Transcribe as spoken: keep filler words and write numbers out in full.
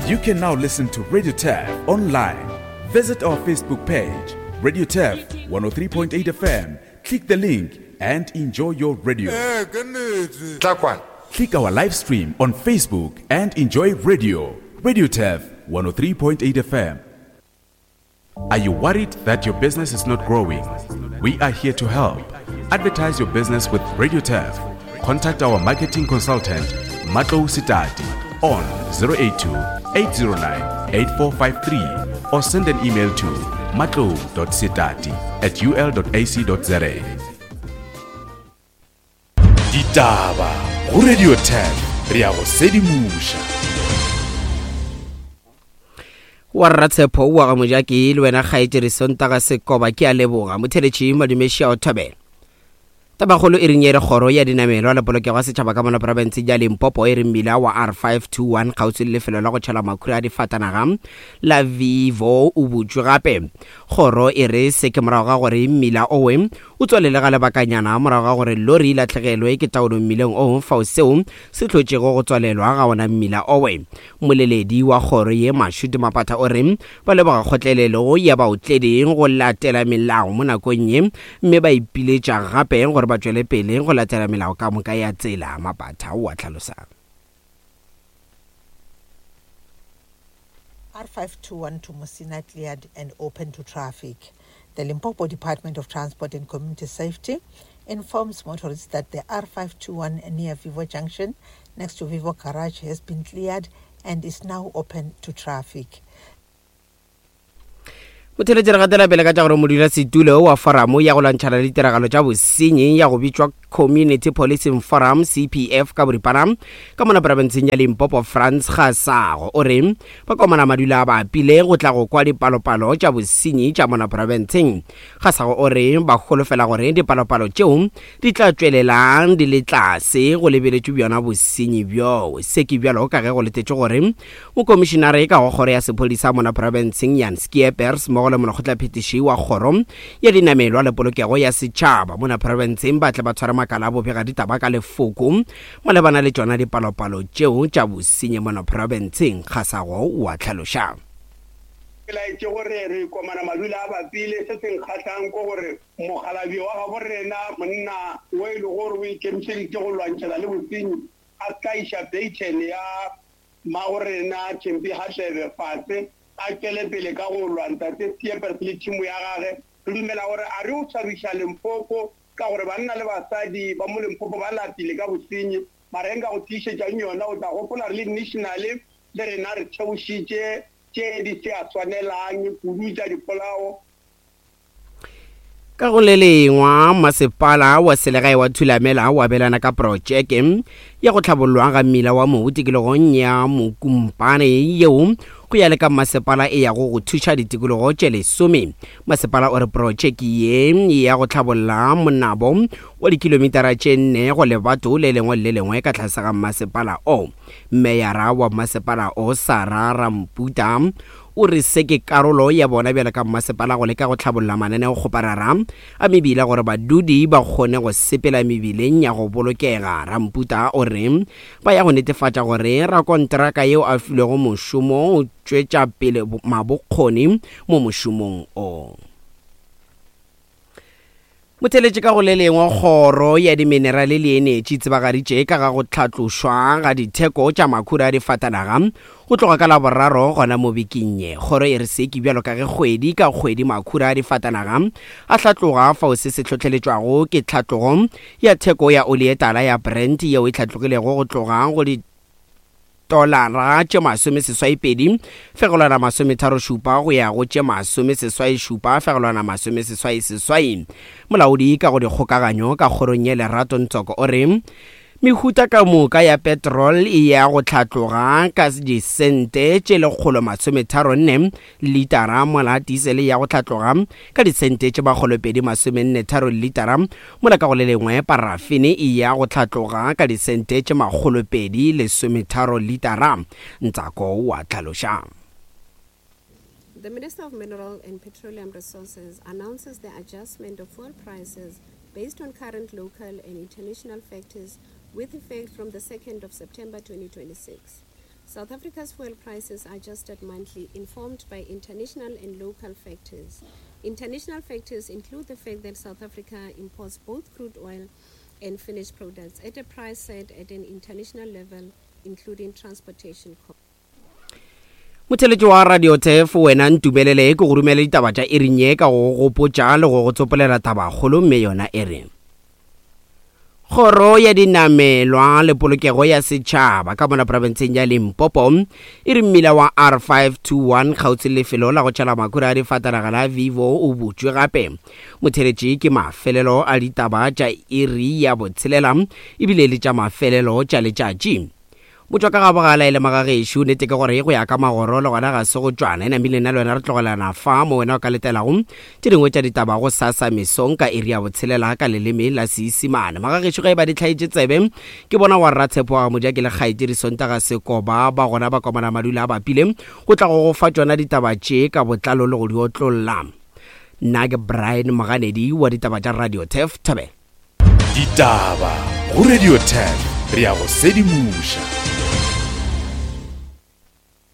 You can now listen to Radio Turf online. Visit our Facebook page, Radio Turf one oh three point eight F M. Click the link and enjoy your radio. Click our live stream on Facebook and enjoy radio. Radio Turf one oh three point eight F M. Are you worried that your business is not growing? We are here to help. Advertise your business with Radio Turf. Contact our marketing consultant, Matlou Sitati, on zero eight two, eight zero nine, eight four five three or send an email to matlou dot sitati at u l dot a c dot z a. Ditaba go Radio Turf, re ya go sedimoša. Wa Ratshepo wa ga Mojaki le wena kgaetšedi Sontaga Sekoba ke a leboga. Motheletši Madumeši a o thobela. Tabakgolo e reng e re kgoro ya dinamelwa le polokego ya setšhaba ka mona profense ya Limpopo e re mmila wa R five two one kgauswi le lefelo la go tšhela makhura a difatanaga la Vivo o butšwe gape. Kgoro e re se ke morago ga gore mmila owe o tswalele ga lebakanyana morago ga gore lori e lahlegelwe ke taolo mmileng o fao seo se hlotšego go tswalelwa ga ona mmila owe. Moleledi wa kgoro ye Mashudu Mapatha o re ba leboga kgotlelelo ya baotledi go latela melao mo nakong ye mme ba ipiletša gape gore ba tšwele pele go latela melao ka moka ya tsela. Mapatha o a hlalosa. R five two one to Musina cleared and open to traffic. The Limpopo Department of Transport and Community Safety informs motorists that the R five two one near Vivo Junction next to Vivo Garage has been cleared and is now open to traffic. Motheletši re gatela pele ka tša gore modulasetulo wa foramo ya go lwantšhana le ditiragalo tša bosenyi ya go bitšwa Community Policing Forum C P F ka boripana ka mona profenseng ya Limpopo Frans Gasago o re ba komana madula a bapile go tla go kwa dipalopalo tša bosenyi tša mona profenseng. Gasago o re ba holofela gore dipalopalo tšeo di tla tšwelelang di le tlase go lebeletšwe bjona bosenyi bjoo. Se ke bjalo ka ge go letetšwe gore mokomišenare ka go kgoro ya sephodisa mona profenseng Jan Skeepers mmogo le molekgotlaphethiši wa kgoro ya dinamelwa le polokego ya setšhaba mona profenseng ba tle ba tshware makala a bobega ditaba ka lefoko malebana le tšona dipalopalo tšeo tša bosenyi mona profenseng. Gasago o a hlaloša. Ke laetše gore re komana madula a bapile. Se se nkgahlang ke gore mokgalabje wa gabo rena monna o e le gore o ikemišeditše go lwantšhana le bosenyi a ka iša baton ya mmago rena Thembi Hadebe fase a tšwele pele ka go lwa ntate Skeepers le tšhimo ya gage. Re dumela gore a re o tshwabiša Limpopo ka gore banna le basadi ba mo Limpopo ba lapile ka bosenyi, mara nka go tiišetšang yona o tla gopola re le national le rena re theošitše tše di se a swanelang kudu tša dipolao. Ka go le lengwa masepala wa selegae wa Thulamela o abelana ka projeke ya go tlhabollwa ga mmila wa mobu tikologong ya Mokumpane yeo go ya le ka masepala e yago go thuša ditikologo tše lesome. Masepala o re projeke ye ya go tlhabolla monabo wa dikilomitara tše nne go lebato le lengwe le lengwe ka tlase ga masepala o. Meyara wa masepala o Sarah Ramputa o re se ke karolo ya bona bjalo ka masepala go leka go tlhabolla mananeokgoparara a mebila gore badudi ba kgone go sepela mebileng ya go bolokega. Ramputa o re ba ya go netefatša gore rakonteraka yeo a filwego mošomo o tšwetša pele mabokgoni mo mošomong o. Motheletši ka go le lengwe kgoro ya diminerale le enetši tsebagaditše ka ga go tlhatlošwa ga ditheko tša makhura a difatanaga go tloga ka Laboraro gona mo bekeng ye. Kgoro e re se ke bjalo ka ge kgwedi ka kgwedi makhura a difatanaga a hlatloga fao se se hlohleletšwago ke tlhatlogo ya theko ya oli e tala ya Brent yeo e hlatlogilego go tloga go di tolara tše masome seswai pedi fegelwana masometharo šupa go ya go tše masome seswai šupa fegelwana masome seswai seswai. Molaodi ka go dikgokaganyo ka kgorong ye Lerato Ntsoko o re mehuta ka moka ya petrol e ya go tlhatloga ka disente tše lekgolo masometharo nne litara, mola diesel ya go tlhatloga ka disente tše makgolo pedi masomenne tharo litara, mola ka go le lengwe parafene e ya go tlhatloga ka disente tše makgolo pedi lesometharo litara. Ntsako wa tlhaloša. The Minister of Mineral and Petroleum Resources announces the adjustment of fuel prices based on current local and international factors with effect from the second of September twenty twenty-six. South Africa's fuel prices are adjusted monthly, informed by international and local factors. International factors include the fact that South Africa imports both crude oil and finished products at a price set at an international level, including transportation costs. Motheletši wa Radio Turf, wena ntumelele ke go romele ditaba tša iring ye ka go gopotša le go go tsopolela tabakgolo, mme yona e re Kgoro ya dinamelwa le polokego ya setšhaba ka mona profenseng ya Limpopo e re mmila wa R five two one kgautsi le lefelo la go tšhela makhura a difatanaga la Vivo o butšwe gape. Motheletši ke mafelelo a ditaba tša iri ya botshelela ebile le tša mafelelo tša letšatši. Motšwa ka gabogala e le magagešo, nnete ke gore go ya ka magoro le gona ga se go tšwana. E namile nna le wena re tlogelana fa mo wena o ka letelago tše dingwe tša ditaba go sasa mesong ka iri ya botshelela ka leleme la Seisimane. Magagešo ge e ba di hlaetše tsebe ke bona wa Rratshepo wa Moja ke le kgaetšedi Sontaga Sekoba ba gona ba komana madula a bapile go tla go go fa tšona ditaba tše ka botlalo le go di otlolla. Nna ke Brian Moganedi wa ditaba tša Radio Turf. Thobela. Ditaba go Radio Turf, re ya go sedimoša.